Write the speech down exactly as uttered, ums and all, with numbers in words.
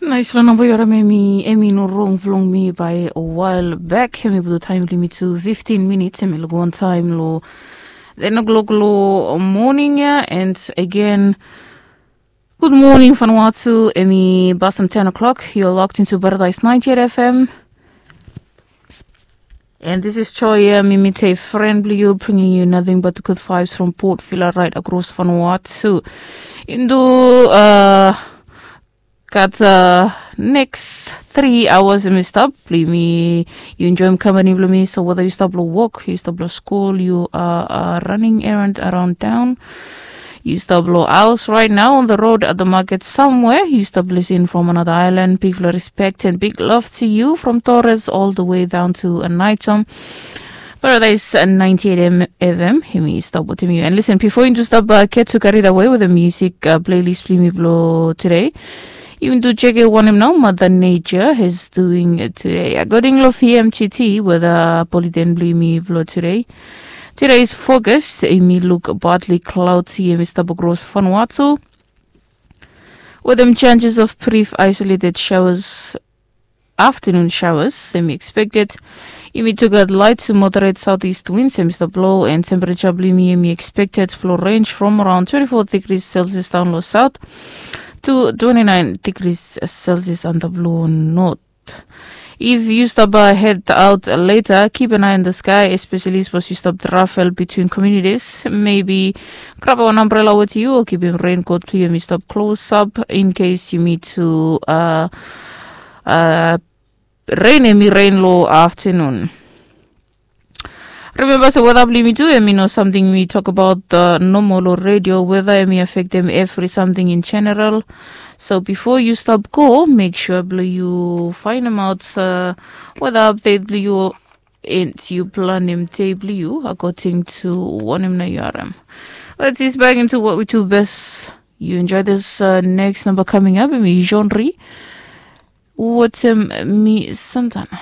Nais long namba yu harim em i em i no rong vlong mi bai wael bek em i putu taim bilong mi tu fiftin minits em i luk wantaim long ten o'clock long moning ya. And again, good morning Vanuatu, em i basem ten o'clock. You're locked into Paradise ninety-eight F M. And this is Choya Mimite, friend blue you, bringing you nothing but the good vibes from Port Vila right across Vanuatu. Into uh, kat uh, next three hours em i stap blong mi. You enjoy company blong mi. So whether you stop lo work, you stop lo school, you are uh, running errand around town, you stop lo house right now on the road at the market somewhere, you stop listening from another island, big respect and big love to you from Torres all the way down to Anaitom. Paradise ninety-eight F M, hemi stop with you. And listen, before you stop uh, get to carried away with the music uh, playlist blong mi blo today, even to check it one him now, Mother Nature is doing it today. According lo V M G T with a politen blong mi blo today. Today's focus, emi look partly cloudy, emi stop across Vanuatu. With them chances of brief isolated showers, afternoon showers semi expected. Imi took out light to moderate southeast winds semi stop blow and temperature blimi imi expected flow range from around twenty-four degrees Celsius down low south to twenty-nine degrees Celsius under blow north. If you stop uh, head out later, keep an eye on the sky, especially suppose you stop travel between communities. Maybe grab an umbrella with you or keep a raincoat clear me stop close up in case you need to uh, uh, rain emi rain lo afternoon. Remember, so weather blimi tu emi no something we talk about the normal or radio weather emi affect them every something in general. So before you stop go, make sure blue you find them out uh, weather update blue you and you plan them day blue you according to one him na U R M. Let's ease back into what we do best. You enjoy this uh, next number coming up. Emi genre. What um, me Santana.